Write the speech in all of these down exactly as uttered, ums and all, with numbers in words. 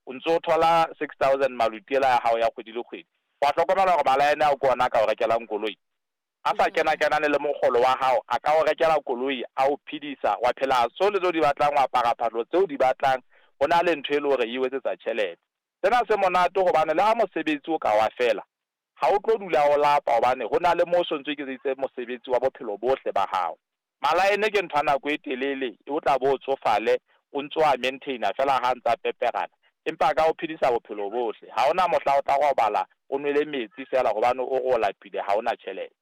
O ntso o thola six thousand maluti ela ya hao ya kgwedi le kgwedi. Wa hlokomela hore malaene ao ke ona a ka o rekelang koloi. A sa kena-kenane le mokgolo wa hao, a ka o rekela koloi, a o phedisa, wa phela tsohle tseo di batlang, wa apara phahlo tseo di batlang. Ho na le ntho e le hore e o etsetsa tjhelete. Sena se monate hobane le ha mosebetsi o ka wa fela, ha o tlo dula o lapa hobane ho na le moo o sontso iketseditse mosebetsi wa bophelo bohle ba hao. Malaene ke ntho ya nako e telele, o tla bo o tsofale, o ntso a maintain-a fela ha ntsa peperana. Empa a ka o phedisa bophelo bohle. Ha hona mohla o tla robala o nwele metsi fela hobane o re o lapile ha ona tjhelete.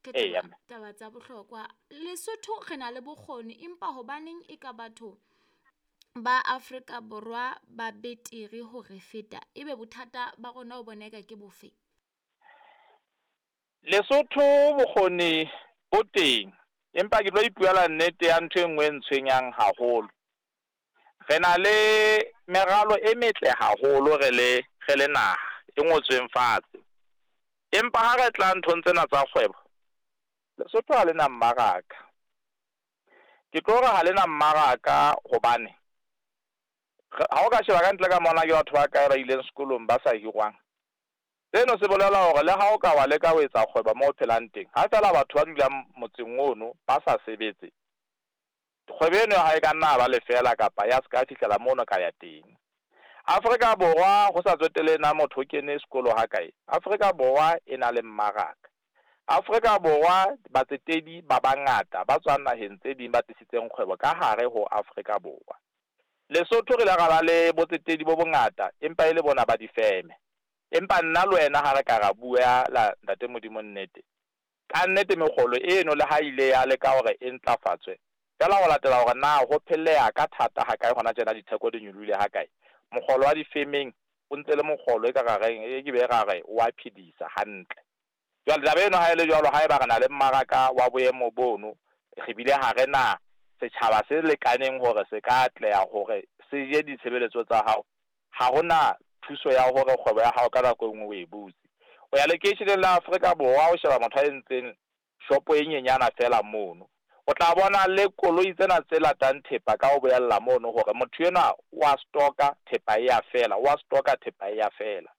Ke Eya, taba, mme. taba tsa bohlokwa. Lesotho re na le bokgoni empa hobaneng e ka batho ba Afrika Borwa ba betere ho re feta? Ebe bothata ba rona o bona eka ke bofe? Lesotho bokgoni bo teng, empa ke tlo ipuela nnete ya ntho e nngwe e ntshwenyang haholo. Re na le meralo e metle haholo re le re le naha e ngotsweng fatshe. Empa ha re tla nthong tsena tsa kgwebo, Lesotho ha lena mmaraka. Ke tlo re ha lena mmaraka hobane ha o ka sheba ka ntle ka mona ke batho ba kae ba ileng sekolong ba sa hirwang. Seno se bolela hore le ha o ka wa leka ho etsa kgwebo moo o phelang teng, ha feela batho ba dulang motseng ono ba sa sebetse, kgwebo eno ya hao e ka nna ba lefela kapa ya ska fihlela mono ka ya teng. Afrika Borwa ho sa tsotelle na motho o kene sekolo ha kae, Afrika Borwa e na le mmaraka. Afrika Borwa batsetedi ba bangata ba tswang naheng tse ding ba tlisitseng kgwebo ka hare ho Afrika Borwa. Lesotho re ile ra ba le botsetedi bo bongata empa e le bona ba difeme. Empa nna le wena ha re ka ra bua la ntate Modimo nnete, ka nnete mekgolo eno le ha ile ya leka hore e ntlafatswe, feela ho latela hore na ho phelleha ka thata ha kae hona tjena ditheko di nyolohile ha kae, mokgolo wa difemeng o ntse le mokgolo e ka ra reng e ke be ra re wa phedisa hantle. Jwale taba eno ha e le jwalo, haeba re na le mmaraka wa boemo bono, re bile ha re na setjhaba se lekaneng hore se ka atleha hore se je ditshebeletso tsa hao, ha hona thuso ya hore kgwebo ya hao ka nako e nngwe o e butse. O ya lekeisheneng la Afrika Borwa o sheba motho a entseng shopo e nyenyana feela mono, o tla bona le koloi tsena tse latang thepa ka ho boella mono hore motho enwa wa stock-a thepa e ya fela, wa stock-a thepa e ya fela.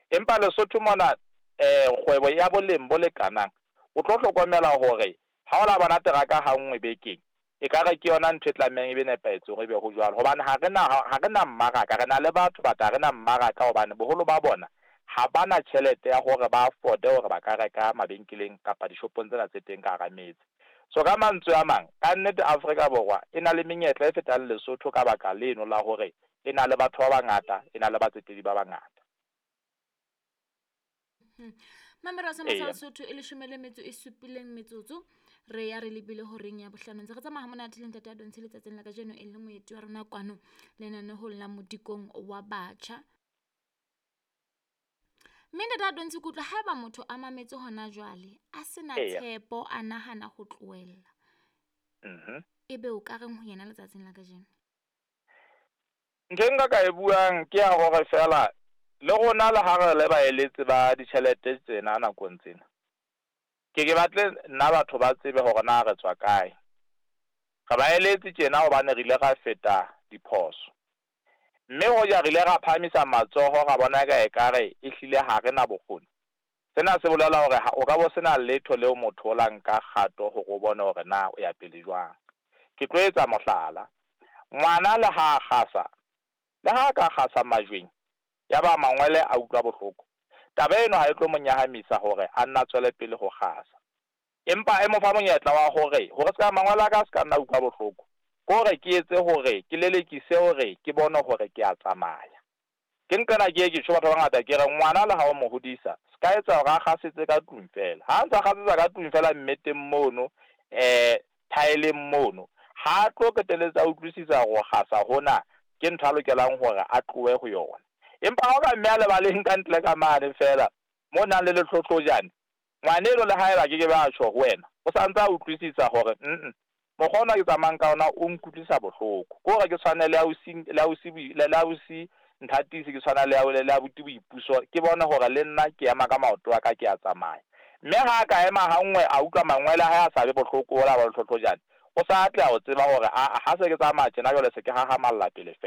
Empa Lesotho mona eh kgwebo ya boleng bo lekanang, o tlo hlokomela hore ha o la bona teraka ha nngwe bekeng, e ka re ke yona ntho e tlamehang e be nepahetse hore ebe ho jwalo. Hobane ha re na ha re na mmaraka, re na le batho but ha re na mmaraka hobane boholo ba bona ha bana tjhelete ya hore ba afford-e hore ba ka reka mabenkeleng kapa dishopong tsena tse teng ka hara metse. So ka mantswe a mang, ka nnete Afrika Borwa e na le menyetla e fetang Lesotho ka baka leno la hore e na le batho ba bangata, e na le batsetedi ba bangata. Mamelo sa Eya. Lesotho e leshome le metso e supileng metsotso re ya re lebile horeng ya bohlano. Ntse re tsamaya ha monate le ntate Adontshi letsatsing la kajeno e le moeti wa rona kwano lenanehong la Modikong wa Batjha. Mme ntate Adontshi ke utlwa haeba motho a mametse hona jwale a sena Eya. tshepo a nahana ho tlohella, Mhm. ebe o ka reng ho yena letsatsing la kajeno? Ntho e nka ka e buang ke ya hore feela le rona le ha re le baeletsi ba ditjhelete tsena nakong tsena, ke ke batle nna batho ba tsebe hore na re tswa kae. Re baeletsi tjena hobane re ile ra feta diphoso, mme hoja re ile ra phahamisa matsoho ra bona ka ekare ehlile ha re na bokgoni. Sena se bolela hore ha o ka bo sena letho leo motho o la nka kgato hore o bone hore na o ya pele jwang. Ke tlo etsa mohlala, ngwana le ha a kgasa, le ha a ka kgasa majweng, ya ba mangwele a utlwa bohloko, taba eno ha e tlo mo nyahamisa hore a nna tswele pele ho kgasa. Empa e mo fa monyetla wa hore, hore ska mangwele a ka se ka nna utlwa bohloko, ke hore ke etse hore ke lelekise hore ke bone hore ke a tsamaya. Ke nqena ke ye ke tjho batho ba bangata ke re ngwana le ha o mo hodisa, se ka etsa hore a kgasetse ka tlung feela. Ha ntsa kgasetsa ka tlung feela mmeteng mono, eh thaeleng mono, ha tlo qetelletse a utlwisisa hore ho kgasa hona ke ntho a lokelang hore a tlohe ho yona. Empa ha o ka mme a lebaleng ka ntle ka mane feela mo nang le lehlohlojane, ngwaneno le haeba ke ke ba tjho ho wena, o sa ntse a utlwisisa hore mm mokgwa ona ke tsamayang ka ona o nkutlwisa bohloko. Ke hore ke tshwane le ausi, le ausi, le ausi Nthatisi, ke tshwana le le abuti Boipuso, ke bone hore le nna ke ema ka maoto a ka ke a tsamaya. Mme ha ka ema ha nngwe a utlwa mangwele a hae a sa be bohloko hola ba lehlohlojane, o sa atleha ho tseba hore aa ha se ke tsamaya tjena jwale se ke hahamalla pele feela.